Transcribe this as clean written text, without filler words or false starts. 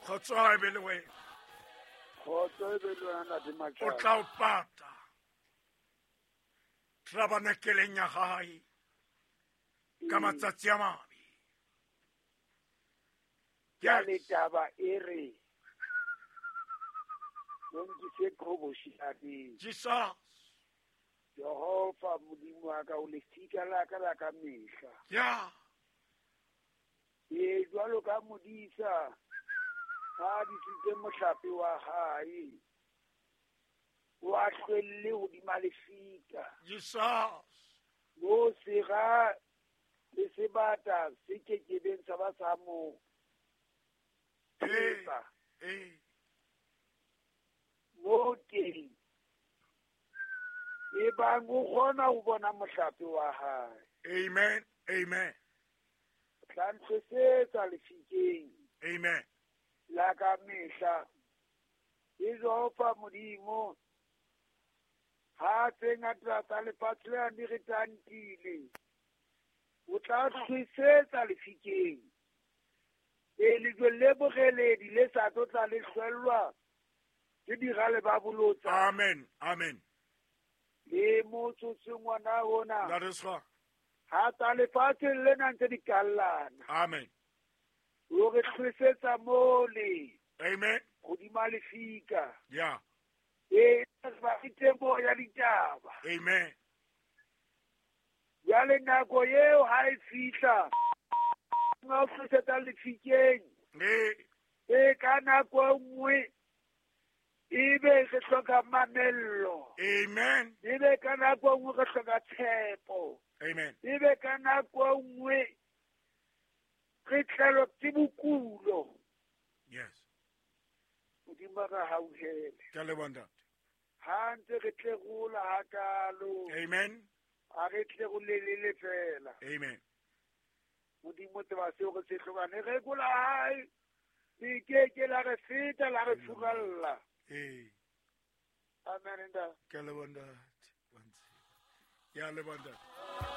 Kgotso ha e be le wena. Kgotso e be le wena, Ntate O Machaba. tla o pata tabernakeleng ya gae ka matsatsi a mabe. Jwale Yes. taba e re o nkise qhobosheaneng. Jesus. Jehova Modimo wa ka, o lefika la ka la ka mehla. Yeah. Ee, jwalo ka modisa ha disitse mohlape wa hae, o a hlwelle hodima lefika. Jesus. Mo sera le sebata se kekebeng sa ba sa mo Ee. thetsa. Ee. Mo teng e bang o kgona ho bona mohlape wa hae. Amen. Amen. O tla ntlhosetsa lefikeng Amen. la ka mehla. E Jehova Modimo, ha tse ngata tsa lefatshe lena di re tantile, o tla hlwesetsa lefikeng. E lejwe le boreledi le sa tlo tla le hlwellwa ke dirale ba bolotsa. Amen. Amen. Le motsotsong ona ona, That is right. ha tsa lefatsheng lena ntse di kallana, Amen. o re hlwesetsa mole Amen. hodima lefika. Yeah. E ba temo ya ditaba. Amen. Jwale nako eo ha e fihla, nga o hlwesetsa lefikeng. Ee. E ka nako e nngwe ebe re hloka mamello, Amen. ebe ka nako e nngwe re hloka tshepo, Amen. ebe ka nako e nngwe re tlelwa ke bokulo. Yes. Modimo a re hauhele. Ke a leboha, ntate. Ha ntse re tlerola hakalo, Amen. ha re tlerolelele fela. Amen. Modimo tseba seo re se hlokang. Lereko la hae le keke la re feta, la re furalla. Ee. Amen, ntate. Ke a leboha, ntate. Wa ntseba. Ke a leboha, ntate.